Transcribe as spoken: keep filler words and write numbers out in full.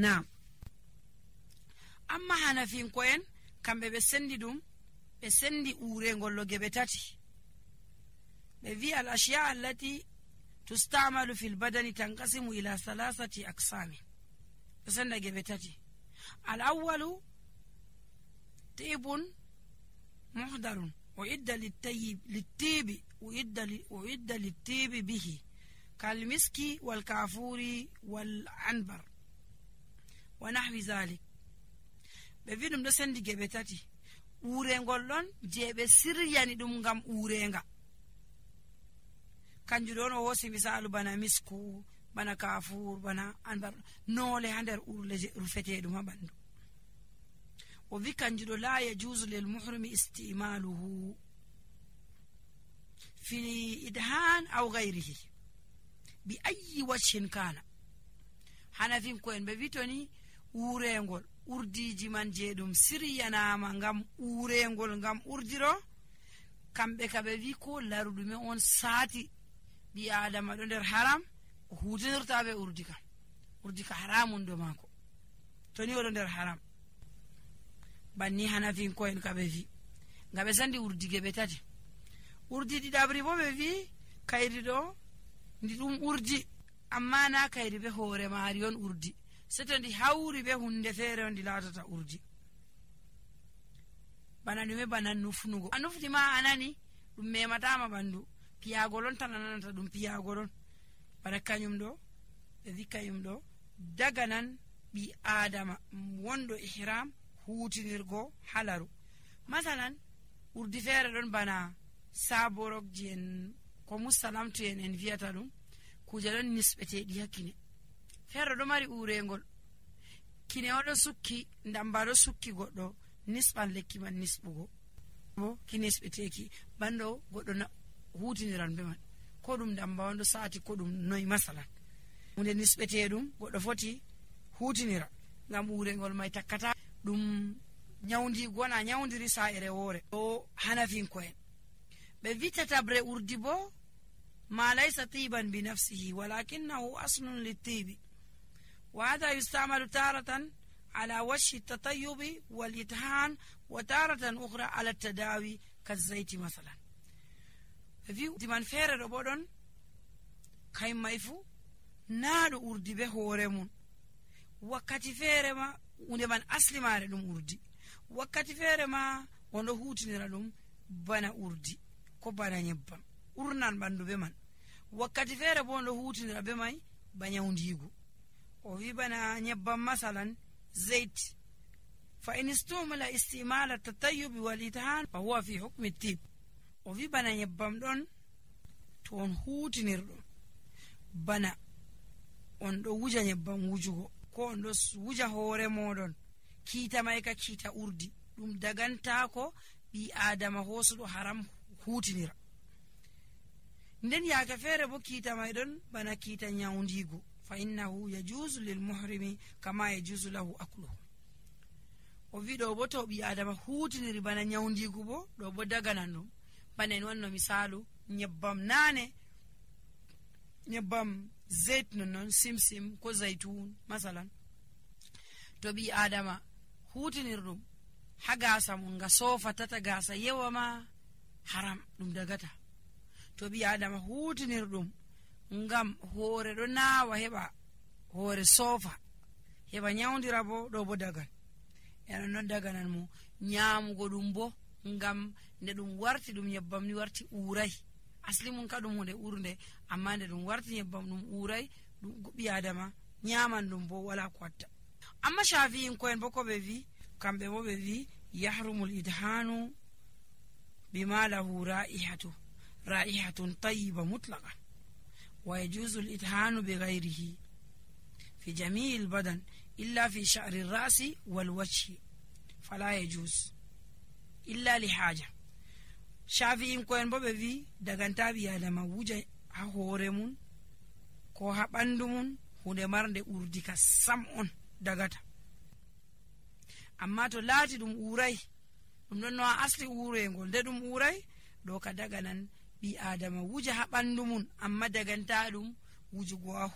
Naam. Amma hanafinko'en kamɓe ɓe sendi ɗum ɓe sendi urengol lo geɓe tati. ɓe wi al ashiya allati tustamalu fil badani tanqasimu ila salasati aqsami. ɓe senda geɓe tati. al awwalu tibun muhdarun uidda littayyib littibi uidda uidda littibi bihi kal miski wal kafuri wal anbar wa nahwi zalik. ɓe wi ɗum ɗo sendi geɓe tati. urengol ɗon je ɓe siryani ɗum ngam urenga kanjum ɗon o hosi misalu bana misku, bana kafur, bana anbar, noole ha nder urle je rufeteɗum ha ɓandu. o wi kanjum ɗo la yajuzu lil muhrimi istimaluhu fi idhan aw ghayrihi bi ayyi wajhin kana. hanafinko'en ɓe wi toni urengol urdiji man je ɗum siryanama ngam urengol ngam urdiro, kamɓe ka ɓe wi ko laruɗume on saati ɓi adama ɗo nder haram o hutinirta ɓe urdi kam. urdi ka haramun do mako toni oɗo nder haram. banni hanafinko'en ka ɓe wi ngam ɓe sandi urdi geɓe tati. urdi ɗiɗaɓri bo ɓe wi kayri ɗo ndi ɗum urdi amma na kayri be hoore maari on urdi, seto ndi hawri be hunde feere on ndi latata urdi. bana ɗume bana nufnugo, a nufni ma anani ɗum mematama ɓandu, piyagol on tan ananata ɗum piyagol on. bana kañum ɗo ɓe wi kañum ɗo daga nan ɓi adama wonɗo ihram hutinirgo halaru. masalan urdi feere ɗon bana saborokji en ko musalamtu en en viyata ɗum, kuje ɗon nisɓeteɗi hakkine. feere ɗo mari urengol, kine oɗo sukki, ndamba ɗo sukki goɗɗo, nisɓan lekki man nisɓugo bo ki nisɓeteki bando goɗɗo hutiniran be man, ko ɗum ndamba on ɗo sati ko ɗum noy. masalan hunde nisɓeteɗum goɗɗo foti hutinira ngam urengol mai takkata ɗum nyawdigo na nyawdiri sa'ere woore. o hanafinko'en ɓe vitatabre urdi bo ma laysa tiban bi nafsihi walakinahu aslun littibi wa hadha yustamalu taratan ala wajhi tatayyubi wal ithan wa taratan ukhra ala tadawi kazaiti masalan. ɓe wi man feere ɗo bo ɗon kayum mai fu naɗo urdi be hoore mum, wakkati feere ma hunde man asli mare ɗum urdi, wakkati feere ma wonɗo hutinira ɗum bana urdi ko bana nyebbam urnan ɓandu be man, wakkati feere bo wonɗo hutinira be mai ba nyawdigu. o wi bana nyebbam masalan zait fa in istumila istimala tatayyubi wal ithan fa huwa fi hukmi tib. o wi bana nyebbam ɗon to on hutinirɗum bana on ɗo wuja nyebbam wujugo ko on ɗo wuja hoore moɗon, kiita mai ka kiita urdi, ɗum dagantako ɓi adama hosuɗo haram hutinira. nden yaake feere bo kiita mai ɗon bana kiita nyawdigu, fa innahu yajuzu lil muhrimi kama yajuzu lahu akluhu. o wi ɗo bo to ɓi adama hutiniri bana nyawdigu bo ɗo bo daganan ɗum. bana en wanno misalu nyebbam nane, nyebbam zait nonnon simsim ko zaitun masalan, to ɓi adama hutinir ɗum ha gasa mum nga sofatata gasa yewa ma haram ɗum dagata. to ɓi adama hutinir ɗum ngam hoore ɗo nawa heɓa hoore sofa heɓa nyawdira bo ɗo bo dagan. enen non daganan mo nyamugo ɗum bo ngam nde ɗum warti ɗum nyebbam ni warti uray, asli mum ka ɗum hunde urde, amma nde ɗum warti nyebbam ɗum uray, ɗum ɓi adama nyaman ɗum bo wala ko watta. amma shafi'in ko en bo ko ɓe wi kamɓe bo ɓe wi yahrumul idhanu bima lahu ra'ihatu ra'ihatun tayyiba mutlaqan wa yajuzu al idhanu bi ghayrihi fi jami' al badan illa fi sha'ri al ra'si wal wajhi fala yajuz illa li haja. shafi'in ko en bo ɓe wi daganta ɓi adama wuja ha hoore mum ko ha ɓandu mum hunde marnde urdi ka sam on dagata. amma to laati ɗum uray, ɗum ɗon no a asli urengol nde ɗum uray ɗo ka daganan ɓi adama wuja ha ɓandu mum amma daganta ɗum wujugo ha